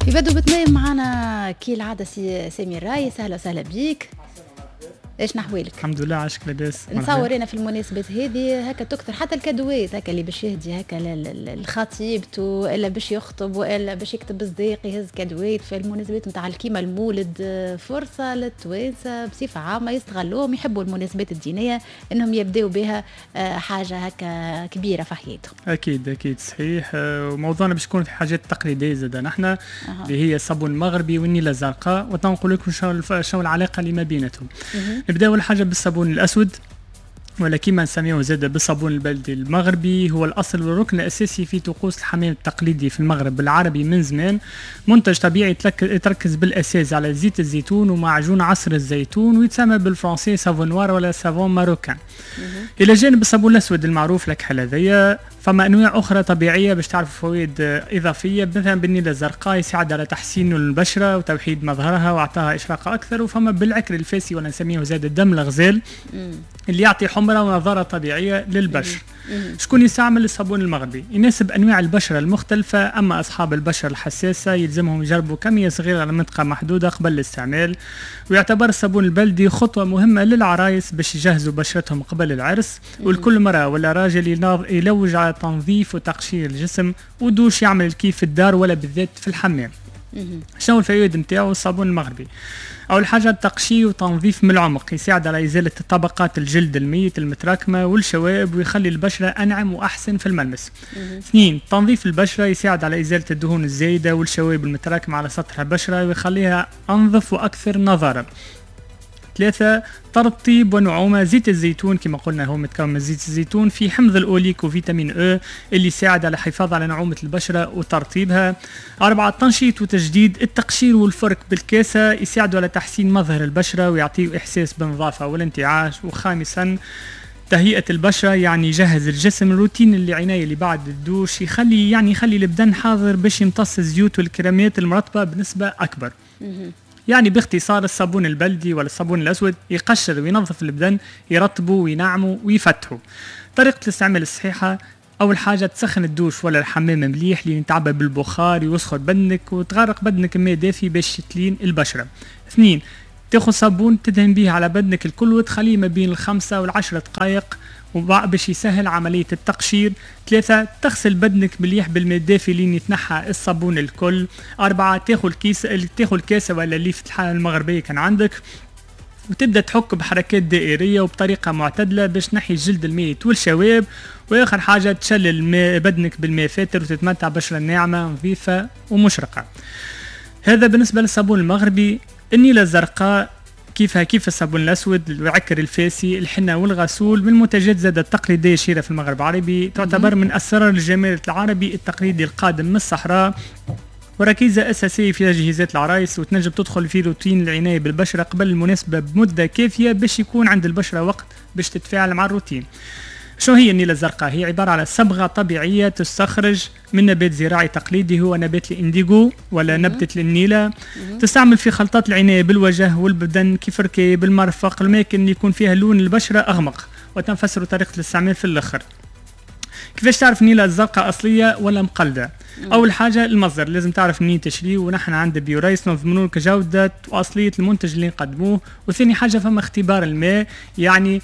يبدو بتمام معنا كي العادة سي سامي الرايس، اهلا وسهلا بيك. ايش نحوالك؟ الحمد لله، عاشك لاباس. نصور انا في المناسبات هذه هكا تكثر حتى الكادوات هكا اللي باش يهدي هكا لخطيبته الا باش يخطب والا باش يكتب صديق يهز كادوات في المناسبات نتاع الكيما المولد. فرصة للتوانسه بصفة عامة يستغلوهم، يحبوا المناسبات الدينية انهم يبداوا بها حاجة هكا كبيرة في حياتهم. اكيد اكيد صحيح. وموضوعنا باش يكون في حاجات تقليدية زاد نحن اللي هي الصابون المغربي والنيلة الزرقاء، وتنقول لكم شنو العلاقة اللي ما بيناتهم. نبداو اول حاجة بالصابون الاسود ولا كما نسميه زاد بالصابون البلدي المغربي، هو الاصل والركن الاساسي في طقوس الحمام التقليدي في المغرب العربي من زمان. منتج طبيعي يتركز بالاساس على زيت الزيتون ومعجون عصر الزيتون، ويتسمى بالفرنسي savon noir ولا savon marocain. الى جانب الصابون الاسود المعروف لك هذايا، فما انواع اخرى طبيعية باش تعرفوا فوائد اضافيه، مثلا بالنيله الزرقاء يساعد على تحسين البشرة وتوحيد مظهرها واعطاها اشراقه اكثر، وفما بالعكر الفاسي ولا نسميه زاد الدم الغزال اللي يعطي حمرة ونظاره طبيعية للبشره. شكون يستعمل الصابون المغربي؟ يناسب انواع البشرة المختلفه، اما اصحاب البشرة الحساسة يلزمهم يجربوا كمية صغيرة على منطقة محدودة قبل الاستعمال. ويعتبر الصابون البلدي خطوة مهمة للعرايس باش يجهزوا بشرتهم قبل العرس، والكل مرأة ولا راجل يلوج على تنظيف وتقشير الجسم ودوش يعمل الكيف في الدار ولا بالذات في الحمام. شنو الفوائد نتاعو الصابون المغربي؟ اول حاجة التقشير وتنظيف من العمق، يساعد على ازالة طبقات الجلد الميت المتراكمة والشوائب ويخلي البشرة انعم واحسن في الملمس. اثنين، تنظيف البشرة يساعد على ازالة الدهون الزايدة والشوائب المتراكمة على سطح البشرة ويخليها انظف واكثر نضاره. ثلاثة، ترطيب ونعومة. زيت الزيتون كما قلنا هو متكون من زيت الزيتون في حمض الأوليك وفيتامين E اللي يساعد على الحفاظ على نعومة البشرة وترطيبها. أربعة، تنشيط وتجديد. التقشير والفرك بالكاسة يساعدوا على تحسين مظهر البشرة ويعطيه إحساس بالنظافة والانتعاش. وخامسا، تهيئة البشرة، يعني يجهز الجسم. الروتين اللي عناية اللي بعد الدوش يخلي يعني يخلي البدن حاضر باش يمتص الزيوت والكريمات المرطبة بنسبة أكبر. يعني باختصار الصابون البلدي ولا الصابون الأسود يقشر وينظف البدن، يرطبه وينعمه ويفتحه. طريقة الاستعمال الصحيحة: أول حاجة تسخن الدوش ولا الحمام مليح لين يتعبى بالبخار ويسخن بدنك، وتغرق بدنك ماء دافي باش تلين البشرة. اثنين، تاخذ صابون تدهن به على بدنك الكل وتخليه ما بين ال5 وال10 دقائق باش يسهل عملية التقشير. ثلاثة، تغسل بدنك مليح بالماء الدافي لين يتنحى الصابون الكل. أربعة، تاخذ الكيس، تاخذ الكاسة ولا الليفة المغربية كان عندك، وتبدا تحك بحركات دائريه وبطريقة معتدلة باش تنحي الجلد الميت والشوائب. واخر حاجة تشلل بدنك بالماء فاتر وتتمتع بشره ناعمة نظيفة ومشرقه. هذا بالنسبة للصابون المغربي. النيله الزرقاء كيفها كيف الصابون الاسود، العكر الفاسي، الحنة والغسول، من المنتجات زاد التقليدية الشهيرة في المغرب العربي، تعتبر من اسرار الجمال العربي التقليدي القادم من الصحراء وركيزة أساسية في تجهيزات العرايس، وتنجم تدخل في روتين العناية بالبشرة قبل المناسبة بمدة كافية باش يكون عند البشرة وقت باش تتفاعل مع الروتين. شو هي النيلة الزرقاء؟ هي عبارة على صبغة طبيعية تستخرج من نبات زراعي تقليدي هو نبات الانديغو ولا نبتة النيلة. تستعمل في خلطات العناية بالوجه والبدن كيف الركاب، المرفق، الأماكن اللي يكون فيها لون البشرة أغمق. وتنفسر طريقة الاستعمال في الآخر. كيفاش تعرف النيلة الزرقاء أصلية ولا مقلدة؟ اول حاجة المصدر، لازم تعرف منين تشري، ونحن عند بيورايس نضمنوا لك جوده واصليه المنتج اللي نقدموه. وثاني حاجة فما اختبار الماء، يعني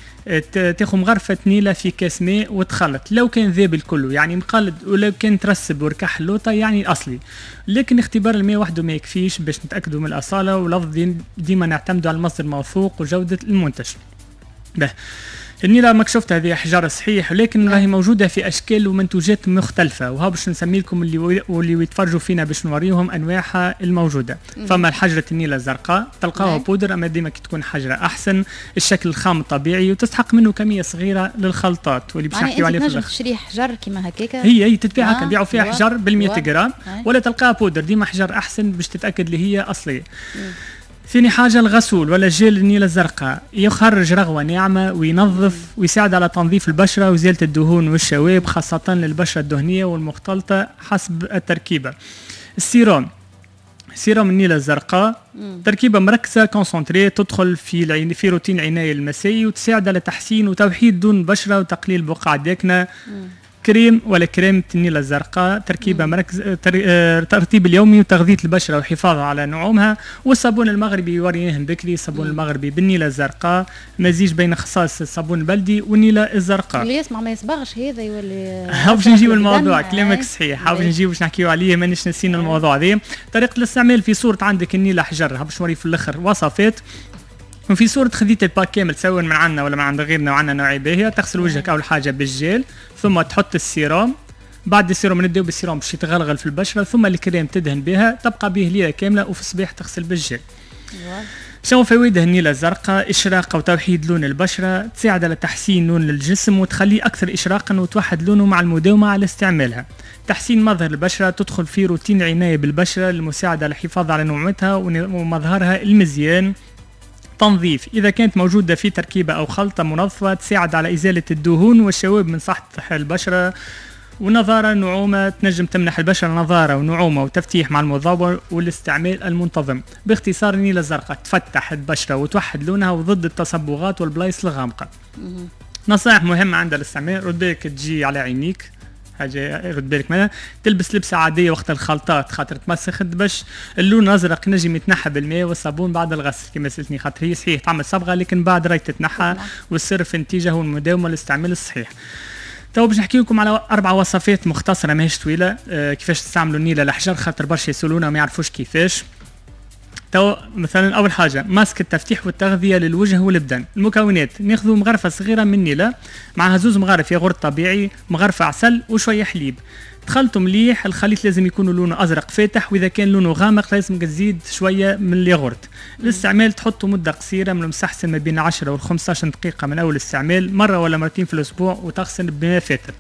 تاخذ مغرفه نيله في كاس ماء وتخلط، لو كان ذاب الكل يعني مقلد، ولو كان ترسب وركح اللوطه يعني اصلي. لكن اختبار الماء وحده ما يكفيش باش نتاكدوا من الاصاله، والافضل ديما نعتمدوا على المصدر الموثوق وجوده المنتج. به النيلة ما شفت هذه أحجار صحيح، ولكن راهي موجودة في أشكال ومنتوجات مختلفة، وها باش نسمي لكم اللي واللي يتفرجوا فينا باش نوريهم أنواعها الموجودة. فما الحجرة النيلة الزرقاء تلقاها بودر، أما ديما كي تكون حجرة أحسن، الشكل الخام الطبيعي وتستحق منه كمية صغيرة للخلطات واللي باش نحكيو عليها. في تشري حجر كيما هكاك؟ هي هي تتباع هكا، نبيعوا فيها حجر بال 100 جرام ولا تلقاها بودر، ديما حجر أحسن باش تتأكد اللي هي أصلية. ثاني حاجة الغسول ولا جيل النيلة الزرقاء يخرج رغوة ناعمة وينظف ويساعد على تنظيف البشرة وإزالة الدهون والشوائب، خاصة للبشرة الدهنية والمختلطة حسب التركيبة. ال sérum، sérum النيلة الزرقاء تركيبة مركزة concentrée، تدخل في العين في روتين العناية المسائي وتساعد على تحسين وتوحيد لون البشرة وتقليل البقع الداكنة. كريم ولا كريم النيله الزرقاء، تركيبه مركز ترطيب اليومي وتغذية البشرة والحفاظ على نعومها. والصابون المغربي وريناهم بكري، الصابون المغربي بالنيله الزرقاء، مزيج بين خصائص الصابون البلدي والنيلة الزرقاء. اللي يسمع ما يصبغش هذا يولي باش نجيب الموضوع، كلامك صحيح، باش نجيب باش نحكيو عليه، مانيش نسينا الموضوع هذا. طريقه الاستعمال في صوره عندك النيله حجر، باش نوري في الاخر وصفات. وفي صورة خذيت ال pack كامل سواء من عندنا ولا من عند غيرنا، وعندنا نوعية باهية. تغسل وجهك أول حاجة بالجيل، ثم تحط السيروم، بعد السيروم نبداو بالسيروم باش يتغلغل في البشرة، ثم الكريم تدهن بها، تبقى به ليلة كاملة، وفي الصباح تغسل بالجيل. شنو فوائدها النيلة الزرقاء؟ إشراقة وتوحيد لون البشرة، تساعد على تحسين لون الجسم وتخليه أكثر إشراقا وتوحد لونه مع المداومة على استعمالها. تحسين مظهر البشرة، تدخل في روتين عناية بالبشرة للمساعدة على الحفاظ على نعومتها ومظهرها المزيان. تنظيف، إذا كانت موجودة في تركيبة أو خلطة منظفة تساعد على إزالة الدهون والشوائب من سطح البشرة. ونظارة نعومة، تنجم تمنح البشرة نظارة ونعومة وتفتيح مع المضاوة والاستعمال المنتظم. باختصار النيلة الزرقاء تفتح البشرة وتوحد لونها وضد التصبغات والبلايص الغامقة. نصائح مهمة عند الاستعمال، رد بالك تجي على عينيك، حاجة رد بالك منها. تلبس لبسه عادية وقت الخلطات خاطر تمسخ الدبش. اللون الازرق نجم يتنحى بالماء والصابون بعد الغسل كما سالتني، خاطر هي صحيح تعمل صبغة لكن بعد راي تتنحى، والسر في النتيجة هو المداومة والاستعمال الصحيح. تو باش نحكي لكم على 4 وصفات مختصره ماهيش طويلة، كيفاش تستعملوا النيله الحجر، خاطر برشا يسالونا وما يعرفوش كيفاش. تو مثلا اول حاجة ماسك التفتيح والتغذيه للوجه والبدن. المكونات، ناخذوا مغرفه صغيرة من النيله معها 2 مغارف ياغورت طبيعي، مغرفه عسل وشوية حليب. تخلطوا مليح، الخليط لازم يكون لونه ازرق فاتح، واذا كان لونه غامق لازم تزيد شوية من الياغورت. الاستعمال تحطوا مده قصيرة من المستحسن ما بين 10 و 15 دقيقة من اول استعمال، مرة ولا مرتين في الاسبوع، وتغسل بماء فاتر.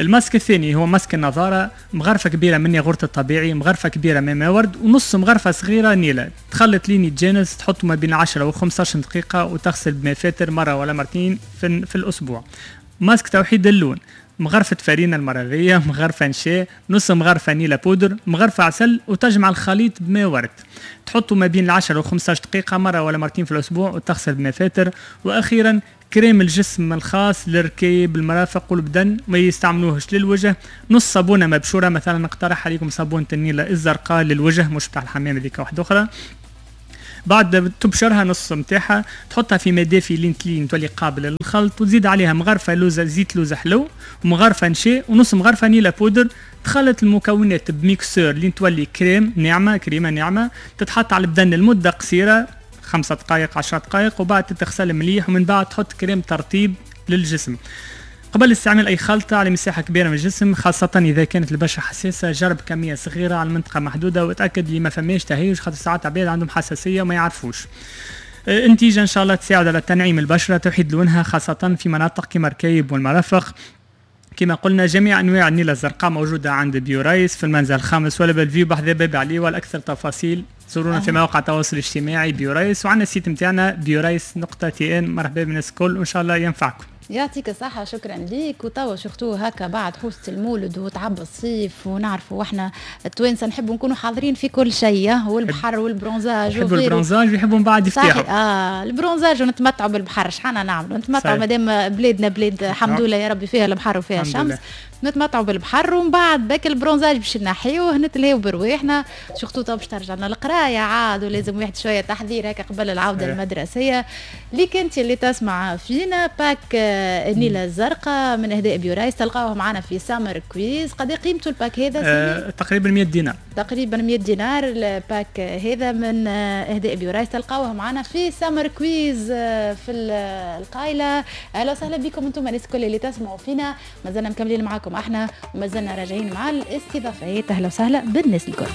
الماسك الثاني هو ماسك النظارة، مغرفة كبيرة من ياغورت الطبيعي، مغرفة كبيرة من ماء ورد، ونص مغرفة صغيرة نيلة. تخلط لين يتجانس، تحطه ما بين 10 و 15 دقيقة وتغسل بماء فاتر مرة ولا مرتين في الأسبوع. ماسك توحيد اللون، مغرفة فرينة المرضية، مغرفة نشا، نص مغرفة نيلة بودر، مغرفة عسل، وتجمع الخليط بماء ورد. تحطه ما بين 10 و 15 دقيقة مرة ولا مرتين في الأسبوع وتغسل بماء فاتر. وأخيرا كريم الجسم الخاص للركيب المرافق والبدن، ما يستعملوهش للوجه. نص صابونه مبشوره، مثلا نقترح عليكم صابونه النيله الزرقاء للوجه، مش بتاع الحمام هذيك واحدة اخرى. بعد تبشرها نص نتاعها، تحطها في ماء دافي لين تلين تولي قابله للخلط، وتزيد عليها مغرفه لوزه زيت لوزه حلو، ومغرفه نشا، ونص مغرفه نيله بودر. تخلط المكونات ب mixeur لين تولي كريم ناعمة، كريمة ناعمة، تتحط على البدن لمدة قصيرة 5 دقائق 10 دقائق، وبعد تتغسل مليح، ومن بعد تحط كريم ترطيب للجسم. قبل استعمال أي خلطة على مساحة كبيرة من الجسم، خاصة إذا كانت البشرة حساسة، جرب كمية صغيرة على منطقة محدودة وتأكد اللي ما فماش تهيج، خاطر ساعات عباد عندهم حساسية وما يعرفوش. النتيجة إن شاء الله تساعد على تنعيم البشرة، توحيد لونها، خاصة في مناطق كما الركيب والمرافق. كما قلنا جميع أنواع النيلة الزرقاء موجودة عند بيورايس في المنزل الخامس ولا بلفيو بحذا باب علي. والأكثر تفاصيل زورونا في مواقع التواصل الاجتماعي بيورايس، وعندنا ال site نتاعنا بيورايس.tn. مرحبا بالناس الكل وإن شاء الله ينفعكم. يعطيك الصحة، شكرا ليك. وتوا surtout هكا بعد حوسة المولد وتعب الصيف، ونعرفوا احنا التوانسة نحبوا نكونوا حاضرين في كل شيء، والبحر وال bronzage، يحبوا ال bronzage ويحبوا من بعد يفتحوا ال bronzage ونتمتعوا بالبحر. شحال نعملوا نتمتعوا مادام بلادنا بلاد الحمد لله يا ربي فيها البحر وفيها الشمس، نتمتعوا بالبحر، ومن بعد باك ال bronzage باش نحيوه نتلهيو برواحنا. surtout تو باش ترجع لنا القراية عاد، ولازم واحد شوية تحضير هكا قبل العودة المدرسية. ليك انت اللي تسمع فينا، pack النيله الزرقاء من اهداء بيورايس تلقاوه معنا في Summer Quiz. قد قيمته ال pack هذا؟ تقريبا 100 دينار. تقريبا 100 دينار ال pack هذا من اهداء بيورايس، تلقاوه معنا في Summer Quiz في القايله. اهلا وسهلا بكم انتم الناس الكل اللي تسمعوا فينا، مازلنا مكملين معاكم احنا ومازلنا راجعين مع الاستضافات. اهلا وسهلا بالناس الكل.